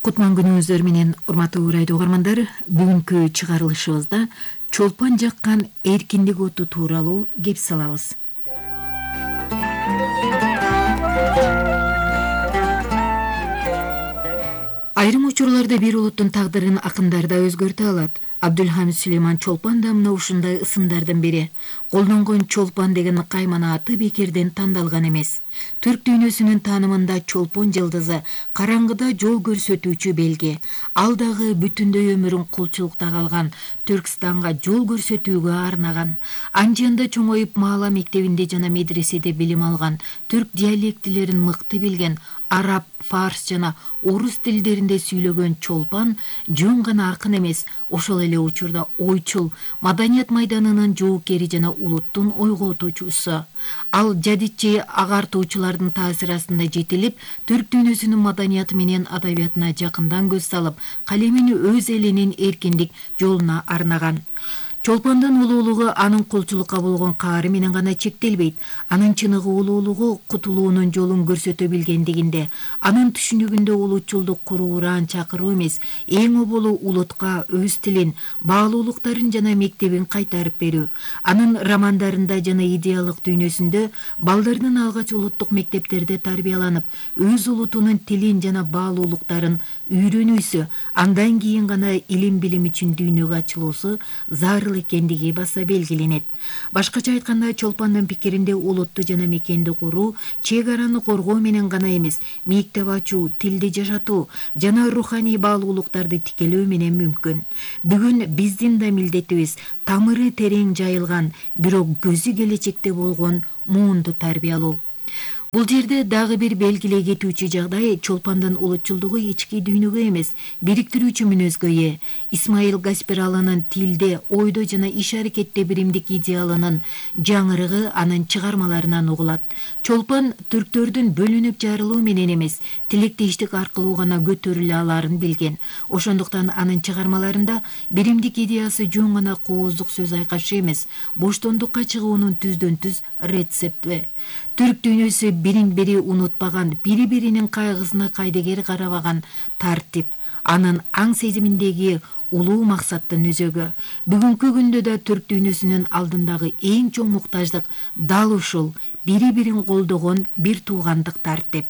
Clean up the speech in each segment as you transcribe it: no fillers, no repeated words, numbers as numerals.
Кутман күнүңүздөр менен урматтуу радио угармандар, бүгүнкү чыгарылышыбызда чолпон жаккан эркиндик оту тууралуу кеп салабыз. Айрым учурларда бир улуттун тагдырын акындар да өзгөртө алат. Абдулхамид Сулейман Чолпон да мына ушундай ысымдардын бири. Колдонгон Чолпон деген каймана аты бекерден тандалган эмес. Түрк дүйнөсүнүн таанымында чолпон жылдызы караңгыда жол көрсөтүүчү белги. Ал дагы бүтүндөй өмүрүн кулчулукта калган Түркстанга жол көрсөтүүгө арнаган. Анжында чоңоюп маала мектебинде жана медреседе билим алган, түрк диалектилерин мыкты билген, араб, фарс жана орус тилдеринде сүйлөгөн Чолпон жөн гана акын эмес, ошол эле учурда ойчул, маданият майданынын жоокери жана улуттун ойготуучусу. Ал жадидчи агартуучулардын таасири астында жетилип, түрк дүйнөсүнүн маданияты менен адабиятына жакындан көз салып, калемин өз элинин эркиндик жолуна арнаган. Чолпондун улуулугу анын кулчулукка болгон каары менен гана чектелбейт. Анын чыныгы улуулугу кутулуунун жолун көрсөтө билгендигинде, анын түшүнүгүндө улутчулдук куруураан чакыруу эмес, эң оболу улутка өз тилин, баалуулуктарын жана мектебин кайтарып берүү. Анын романдарында жана идеялык дүйнөсүндө балдардын алгач улуттук мектептерде тарбияланып, өз улутунун тилин жана баалуулуктарын үйрөнүүсү, андан кийин гана илим-билим үчүн дүйнөгө ачылуусу зарыл экендиги баса белгиленет. Башкача айтканда, Чолпондун пикиринде улутту жана мекенди куруу чек араны коргоо менен гана эмес, мектеп ачуу, тилди жашатуу жана руханий баалуулуктарды тикелөө менен мүмкүн. Бүгүн биздин да милдетибиз тамыры терең жайылган, бирок көзү келечекте болгон муунду тарбиялоо. Бул жерде дагы бир белгилей кетүүчү жагдай Чолпондун улутчулдугу ички дүйнөгө эмес, бириктирүүчү мүнөзгө ээ. Исмаил Гаспиралынын тилде, ойдо жана иш-аракетте биримдик идеалынын жаңырыгы анын чыгармаларынан угулат. Чолпон түрктөрдүн бөлүнүп жарылуу менен эмес, тилектештик аркылуу гана көтөрүлө аларын билген. Ошондуктан анын чыгармаларында биримдик идеясы жөн гана кооздук сөз айкашы эмес, боштондукка чыгуунун түздөн-түз рецепти. Түрк дүйнөсү бирин-бири унутпаган, бири-биринин кайгысына кайдыгер карабаган тартип, анын аң сезиминдеги улуу максаттын өзөгү. Бүгүнкү күндө да түрк дүйнөсүнүн алдындагы эң чоң муктаждык дал ушул, бири-бирин колдогон бир туугандык тартип.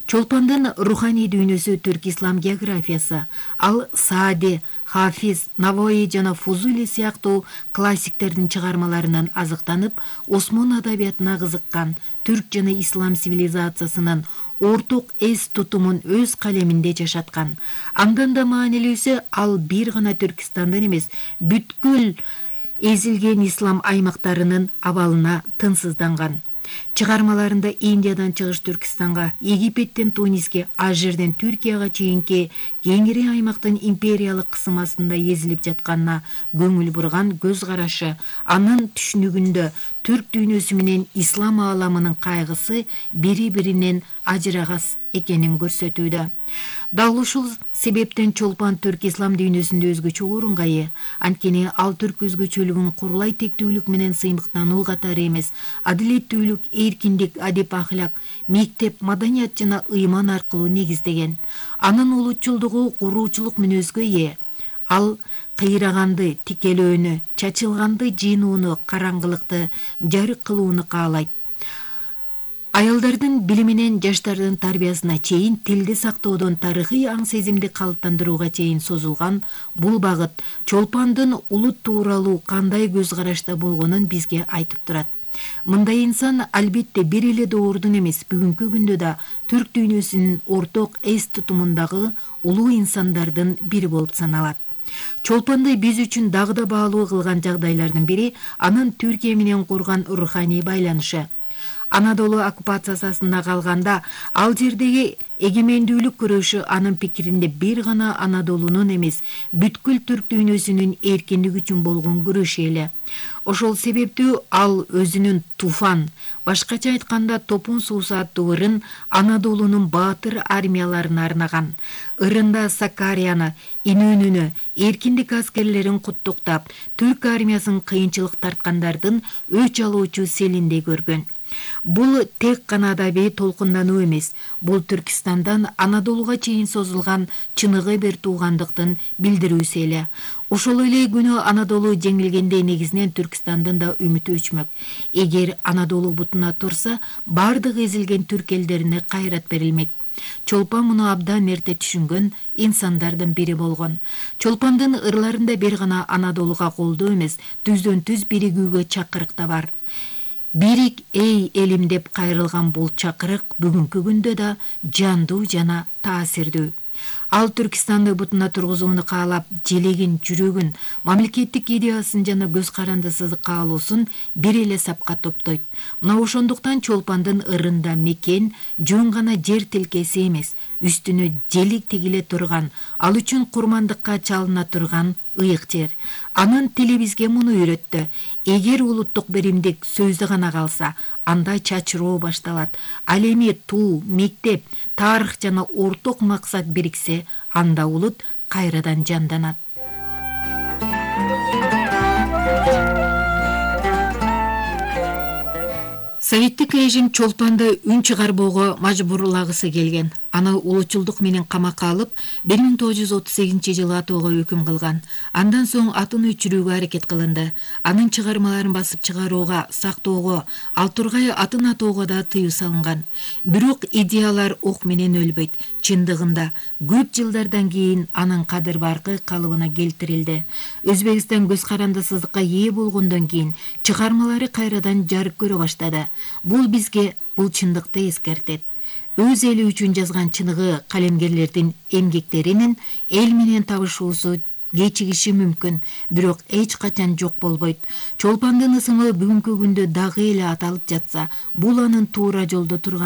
Чолпондун руханий дүйнөсү түрк ислам географиясы. Ал Саади, Хафиз, Навои жана Фузули сыяктуу классиктердин чыгармаларынан азыктанып, Осмон адабиятына кызыккан, түрк жана ислам цивилизациясынын орток эс тутумун өз калеминде жашаткан. Андан да маанилүүсү, ал бир гана Түркистандын эмес, бүткүл эзилген ислам аймактарынын абалына тынсызданган. Чыгармаларында Индиядан чыгыш Түркистанга, Египеттен Туниске, ал жерден Түркияга чейинки кеңири аймактын империялык кысымасында эзилип жатканына көңүл бурган көз карашы, анын түшүнүгүндө түрк дүйнөсү менен ислам ааламынын кайгысы бири-биринен ажырагас экенин көрсөтүүдө. Дал ушул себептен Чолпон түрк ислам дүйнөсүндө өзгөчө орунга ээ. Анткени ал түрк өзгөчөлүгүн курулай тектүүлүк менен сыймыктануу катары эмес, адилеттүүлүк, эркиндик, адеп ахлак, мектеп, маданият жана ыйман аркылуу негиздеген. Анын улутчулдугу куруучулук мүнөзгө ээ. Ал кыйраганды, тикелөөнү, чачылганды жыйнууну, караңгылыкты жарык кылууну каалайт. Аялдардын билиминен жаштардын тарбиясына чейин, тилди сактоодон тарыхый аң сезимди калыптандырууга чейин созулган бул багыт Чолпондун улут тууралуу кандай көз карашта болгонун бизге айтып турат. Мындай инсан албетте бир эле доордун эмес, бүгүнкү күндө да түрк дүйнөсүнүн орток эс тутумундагы улуу инсандардын бири болуп саналат. Чолпонду биз үчүн дагы да баалуу кылган жагдайлардын бири анын Түркия менен курган руханий байланышы. Анадолу оккупациясы астында калганда, ал жердеги эгемендүүлүк күрөшү анын пикиринде бир гана Анадолунун эмес, бүткүл түрк дүйнөсүнүн эркиндиги үчүн болгон күрөш эле. Ошол себептүү ал өзүнүн Туфан, башкача айтканда Топун суусу аттуу ырын Анадолунун баатыр армияларына арнаган. Ырында Сакарияны, Инөнүнү, эркиндик аскерлерин куттуктап, түрк армиясын кыйынчылык тарткандардын өч алуучу селиндей көргөн. Бул тек гана адабий толкундануу эмес, бул Түркистандан Анадолуга чейин созулган чыныгы бир туугандыктын билдирүүсү эле. Ошол эле күнү Анадолу жеңилгенде негизинен Түркистандын да үмүтү өчмөк. Эгер Анадолу бутуна турса, бардык эзилген түрк элдерине кайрат берилмек. Чолпан муну абдан эрте түшүнгөн инсандардын бири болгон. Чолпандын ырларында бир гана Анадолуга колдоо эмес, түздөн-түз биригүүгө чакырык да бар. Бирик эй элим деп кайрылган бул чакырык бүгүнкү күндө да жандуу жана таасирдүү. Ал Түркистанды бутуна тургузууну каалап, желегин, жүрөгүн, мамлекеттик идеясын жана көз карандысыз каалоосун бир эле сапка топтойт. Мына ошондуктан Чолпандын ырында мекен жөн гана жер тилкеси эмес, үстүнө желик тигиле турган, ал үчүн курмандыкка чалына турган ыйык жер. Анын тили бизге муну үйрөттү. Эгер улуттук биримдик сөздө гана калса, анда чачыроо башталат. Ал эми туу, мектеп, тарых жана орток максат бириксе, анда улут кайрадан жанданат. Советтик режим Чолпанды үн чыгарбоого мажбурлагысы келген. Аны улутчулдук менен камакка алып, 1938-жылы атууга өкүм кылган. Андан соң атын өчүрүүгө аракет кылынды. Анын чыгармаларын басып чыгарууга, сактоого, ал тургай атын атоого да тыюу салынган. Бирок идеялар ок менен өлбөйт. Чындыгында көп жылдардан кийин анын кадыр баркы калыбына келтирилди. Өзбекстан көз карандысыздыкка ээ болгондон кийин чыгармалары кайрадан жарык көрө баштады. Бул бизге бул чындыкты эскертет. Өз эли үчүн жазган чыныгы калемгерлердин эмгектеринин эл менен табышуусу кечигиши мүмкүн, бирок эч качан жок болбойт. Чолпандын ысымы бүгүнкү күндө дагы эле аталып жатса, бул анын туура жолдо турган